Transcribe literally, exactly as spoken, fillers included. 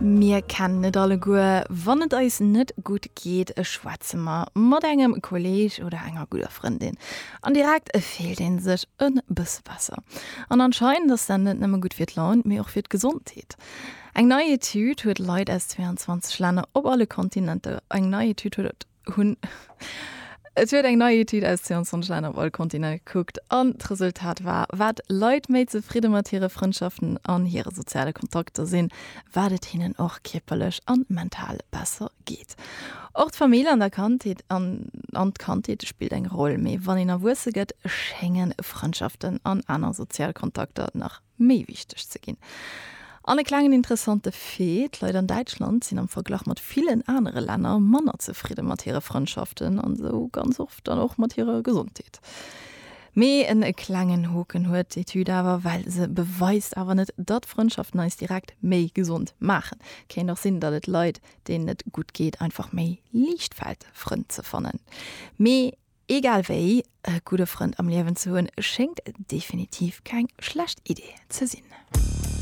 Mir kennen et alleguer, wann et eis net gutt geet, schwätze mer mat engem Kolleeg oder enger gudder Frëndin. An direkt fillt ee sech e bësse besser. An anscheinend ass dat net nëmme gutt fir d'Laun, mee och fir d'Gesondheet. Eng nei Etüd huet Leit aus zweeanzwanzeg Länner op alle Kontinenter eng nei Etüd huet hunn Et huet eng nei Etüd aus zweeanzwanzeg Länner op all Kontinent gekuckt an d'Resultat war, Wat Leit méi zefridde mat hire Frëndschaften an hire soziale Kontakter sinn, wat et hinnen och kierperlech an mental besser geet. Och d'Famill an der Kandheet an an d'Kandheet spillt eng Roll, mee wann een erwuesse gëtt, schénge Frëndschaften an aner sozial Kontakter nach méi wichteg ze ginn. An e klengen interessante Fait, D'Leit an Däitschland sinn am Verglach mat villen anere Länner manner zefridde mat hire Frëndschaften an esou ganz oft dann och mat hirer Gesondheet. Mee en klengen Hoken huet d'Etüd awer, well se beweist awer net, datt Frëndschaften eis direkt méi gesond maachen. Kéint och sinn, datt et Leit, deenen et gutt geet, einfach méi liicht fält, Frënn ze fannen. Mee egal wéi, e gudde Frënd am Liewen ze hunn, schéngt definitiv keng schlecht Idee ze sinn.